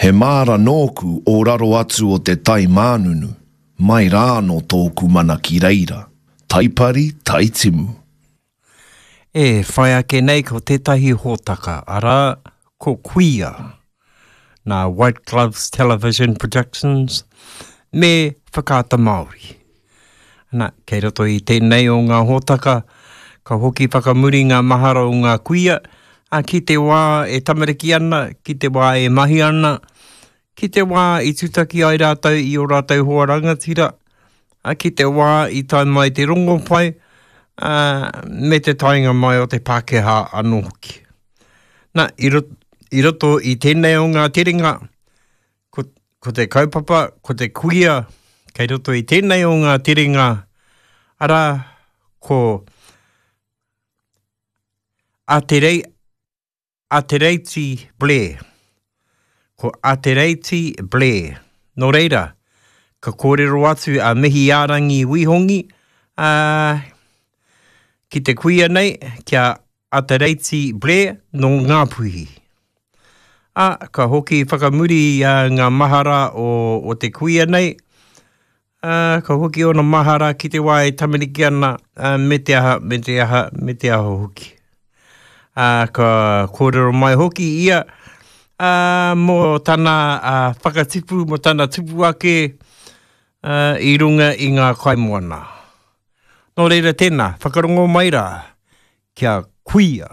He māra nōku o raro atu o te tai mānunu, mai rā anō tōku mana ki reira, taipari, taitimu. E whai ake nei ko tētahi hōtaka, arā, ko Kuia, nā White Gloves Television Productions me Whakaata Māori. Ana, kei roto i tēnei o ngā hōtaka, ka hoki whakamuri ngā mahara o ngā kuia, ā, ki te wā e tamariki ana, ki te wā e mahi ana, ki te wā i tutaki ai rātou i ō rātou hoa rangatira, ā, ki te wā i tae mai te rongopai, ā, me te taenga mai o te Pākehā anō hoki. Nā, i roto, i roto i tēnei o ngā terenga, Ko, ko te kaupapa, ko te kuia kei roto i tēnei o ngā terenga, arā, ko Aterei, Atereiti Blair. Ko Atereiti Blair. Nō reira, ka kōrero atu a Mihiārangi Wihongi, ā, ki te kuia nei, ki a Atereiti Blair nō Ngāpuhi. Ā, ka hoki whakamuri ngā mahara o, o te kuia nei, ā, ka hoki ōna mahara ki te wā e tamariki ana, ā, me te aha, me te aha, me te aha hoki. Ā, ka kōrero mai hoki ia, ā, mō tana ā, whakatipu, mō tana tupu ake, ā, i runga i ngā kaimoana. Nō reira tēnā, whakarongo mai rā, kia kuia.